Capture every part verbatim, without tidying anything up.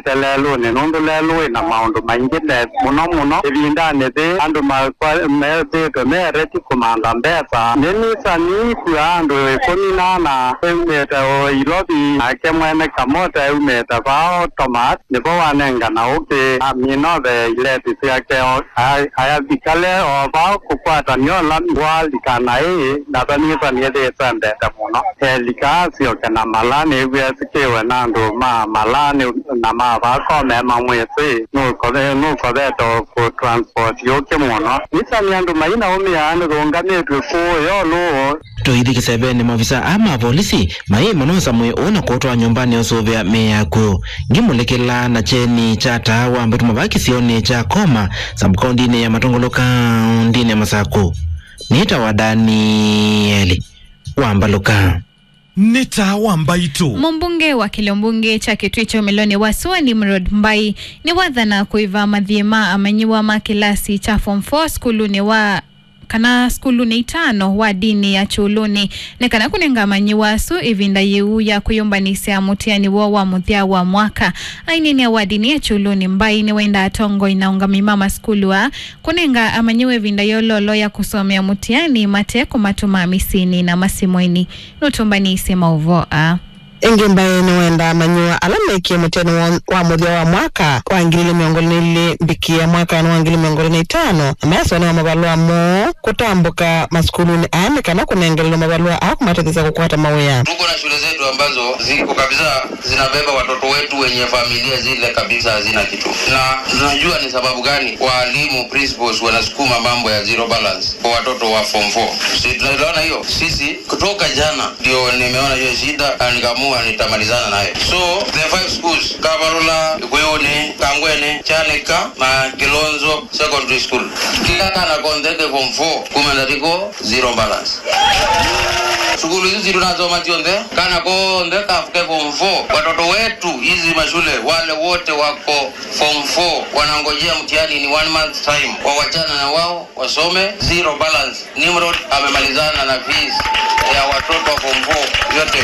Te lelũnĩ, nũndũ lelũ wĩ na maũndũ maingĩ, na mũno mũno ĩvindanĩ yĩĩ andũ makwa-, methĩĩtwe meereti kũmantha mbesa. Nĩnĩsĩ nĩkw'a andũ ĩkũmi na ana eumĩte o Ilovi, nake mwene kamota eumĩte vaa o Thomas, nĩvo wanengana ũkĩ, amina ove ileti syake o, a-, ayavikale o vaa kũkwatany'a ũla walika naĩ, na vanĩsĩ nĩthĩĩtwe mbete mũno. Elika asyoke na mala, nĩw'e kĩwe na andũ ma mala nĩ, na ma vaa Kome mamwĩsĩ, nũkove-, nũkovete o kũ transport yũkĩ mũno. Nĩsĩ nĩ andũ mainaũmĩa nĩthũngamĩtw'e kũũ yo lũũ. Tũithi kĩsevenĩ, maovisa aa ma volisi maĩ manosa mwĩĩ ũũ na kũũtwaa nyũmbanĩ ũsũvĩa mĩĩ ya akw'ũ. Ngimũlĩkĩla na kyeni kya taa wa mbetuma vaa kĩsionĩ kya Koma, sub-kaũndĩnĩ ya Matũngũlũ, kaũndĩnĩ ya Masakũ. Nĩtawa Danieli Wambalũka. Nĩ taa wa mbaitũ. Mũmbunge wa kĩlio mbunge kya Kĩtui kya ũmĩlonĩ wa sua, Nimrod Mbai, nĩwathana kũĩva mathiĩ ma amanyĩw'a ma kĩlasi kya form four sukulunĩ wa, kana sukulunĩ itano wa ndini ya Kyũlũnĩ, nĩ kana kũnenga amanyĩw'a asu ĩvinda yĩu ya kwĩyũmbanĩsya mũtiani woo wa mũthya wa mwaka. Aineenea wa ndini ya Kyũlũnĩ, Mbai nĩwaendaa atongoi na aũngamĩi ma masukulu aa kũnenga amanyĩw'a ĩvinda yololo ya kũsomea mũtiani mate kũmatũma mĩsyĩnĩ na masimũinĩ. Nũtũmbanĩsye maũvoo aa. Ĩngĩ Mbai nĩwendaa amanyĩw'a ala mekie mũtiani wa, wa mũthya wa mwaka wa ngili ilĩ mĩongo ĩlĩ na ilĩ mbikie mwakanĩ wa ngili ilĩ mĩongo ĩlĩ na itano, na mesonewa mavalũa moo kũtambũka masukulunĩ aa nĩ kana kũnengelelwa mavalũa aa kũmatetheesya kũkwata mawĩa. Tuko na shule zetu ambazo ziko kabisa zinabeba watoto wetu wenye familia zile kabisa hazina kitu. Na tunajua ni sababu gani walimu, principals, wanasukuma mambo ya zero balance kwa watoto wa form four. Si tunaelewana hiyo? Sisi kutoka jana ndio nimeona hiyo shida na nikaamua nitamalizana nayo. So, the five schools, Kavalũla, Ĩkũyũnĩ, Kangwenĩ, Kyanika na Kilonzo Secondary School. Kila kana konthe ke form four, kuma ndatiko zero balance. Sukulu hizi tunasoma zionthe, kana konthe kafuke form four. Watoto wetu hizi mashule, wale wote wako form four, wanangojea mtihani in one month time. Wawachana na wao, wasome, zero balance. Nimrod amemalizana na fees ya watoto wa form four yote.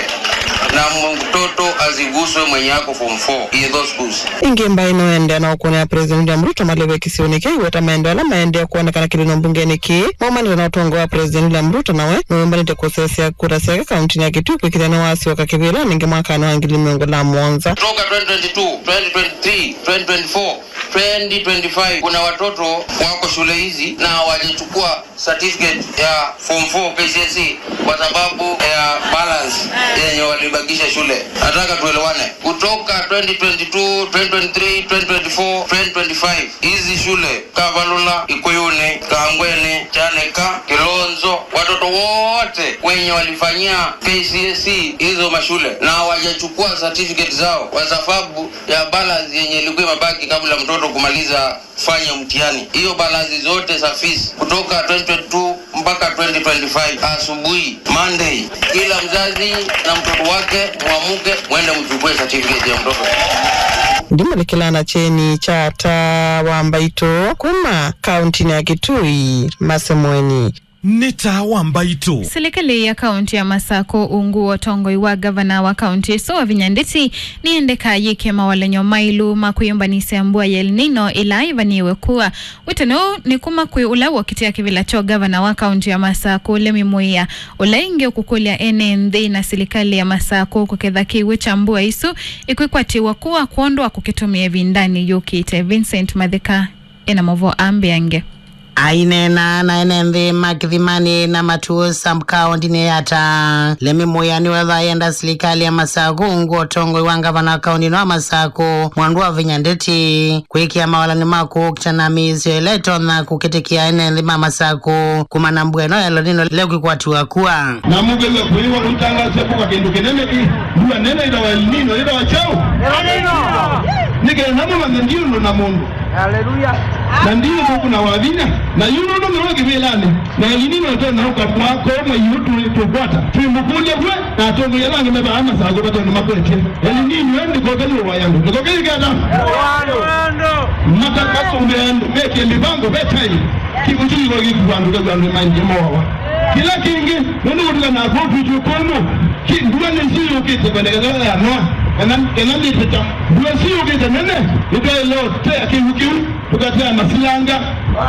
Na mtoto asiguswe mwenye ako form four in those schools. Ĩngĩ Mbai nĩwaendeea na ũkũnĩa President William Ruto maleve kĩsionĩ kĩu, weta maendeeo ala maendee kwonekana kĩlĩno mbungenĩ kĩĩ maumanĩte na ũtongoi wa President William Ruto, nawe nĩwĩmbanĩte kũsesya kura syake kauntinĩ ya Kitui kwĩkĩthya nĩwasyoka kĩvĩlanĩ ĩngĩ mwakanĩ wa ngili mĩongo na mũonza. Kutoka twenty twenty-two, twenty twenty-three, twenty twenty-four, twenty twenty-five, kuna watoto wako shule hizi na hawajachukua certificate ya form four K C S E kwa sababu ya balance yenye walibakisha shule. Nataka tuelewane. Kutoka twenty twenty-two, twenty twenty-three, twenty twenty-four, twenty twenty-five, hizi shule, Kavalũla, Ĩkũyũnĩ, Kangwenĩ, Kyanika, Kilonzo, watoto wote wenye walifanyia K C S E hizo mashule na hawajachukua certificate zao kwa sababu ya balance yenye ilikuwa imebaki kabla mtoto kumaliza kufanya mtihani. Hiyo balance zote za fees kutoka twenty twenty-two mpaka twenty twenty-five, asubuhi, Monday, kila mzazi na mtoto wake muamuke, mwende mchukue certificate ya mtoto. Ndimũlĩkĩla na kyeni kya taa wa mbaitũ kuma kauntinĩ ya Kitui, Masemweni. Nĩ taa wa mbaitũ. Silikalĩ ya kaunti ya Masakũ, ungu wa ũtongoi wa ngavana wa kaunti ĩsu, Wavinya Ndeti, nĩyendeka yĩke mawalany'o maĩlu ma kwĩyũmbanĩsya mbua ya El Nino ĩla ĩvanĩĩwe kua. Wĩtano nĩ kuma kwĩ ũla wokitĩa kĩvĩla kya ngavana wa kaunti ya Masakũ, Lemi Mũĩa, ũla ĩngĩ ũkũkũlya ene nthĩ na silikalĩ ya Masakũ kũketha kĩw'ũ kya mbua ĩsu ĩkwĩkwatĩw'a kua kwondũ wa kũkĩtũmĩa ĩvindanĩ yũkĩte. Vincent Matheka ena maũvoo aa mbeange. Aineena na ene nthĩ ma Kĩthimanĩ na Matuu sub-kaũntinĩ ya Taa, Lemi Mũĩa nĩwetha ayenda silikalĩ ya Masakũ, ungu ũtongoi wa ngavana wa kaunti ĩno wa Masakũ, Mwandu Wavinya Ndeti, kwĩkĩa mawalany'o ma kũkita na mĩisyo ĩla ĩtonya kũkĩtĩkĩa ene nthĩ ma Masakũ kumana na mbua ĩno ya El Nino ĩla ĩkwĩkwatĩw'a kua. Na mũkĩw'a kwĩwa ũitangaasya kũka kĩndũ kĩnene kĩ, mbua nene ĩtawa El Nino, ĩtawa kyaũ? Nĩ kenda mũmanye ndiũndũ na mũndũ. Haleluya. Na ndiũndũ kuna Wavinya. Na yu nũndũ nĩwe kĩvĩlanĩ. Na El Nino ĩtonya ũka mwaka ũmwe yu tũ-, tũkwata. Twĩmũkũlya we, na atongoi ala angĩ me vaa Masakũ vatondũ makwetye. El Nino ndĩkoke yũwae andũ. Ndĩkoke yĩke ata? Matakasũmbĩa andũ, meke mĩvango, ve time. Kĩw'ũ kĩu gĩkũandũ kĩu andũ maingĩ moawa. Kĩla kĩngĩ, nũndũ kũtũka na kw'o twĩtw'e kũmũ, kĩ-, ndua nĩsu yũkĩte kwendekana ya Noa. Kana, kana ndĩtĩka. Ndũa syĩũkĩte nene, nĩtwaĩlwa tũtea kĩw'ũ kĩu, tũkatea masilanga,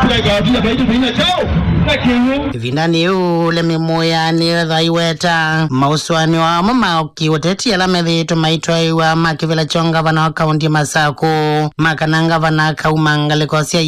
tũkaĩkawatila vaitũ tũina kyaũ na kĩw'ũ. Ĩvindanĩ yĩu, Lemi Mũya nĩwetha aiweta maũsũanĩo amwe ma kĩũteti ala methĩĩtwe maitwaĩwa ma kĩvĩla kya ngavana wa kaũnti ya Masakũ, ma kana ngavana akauma ngalĩko sya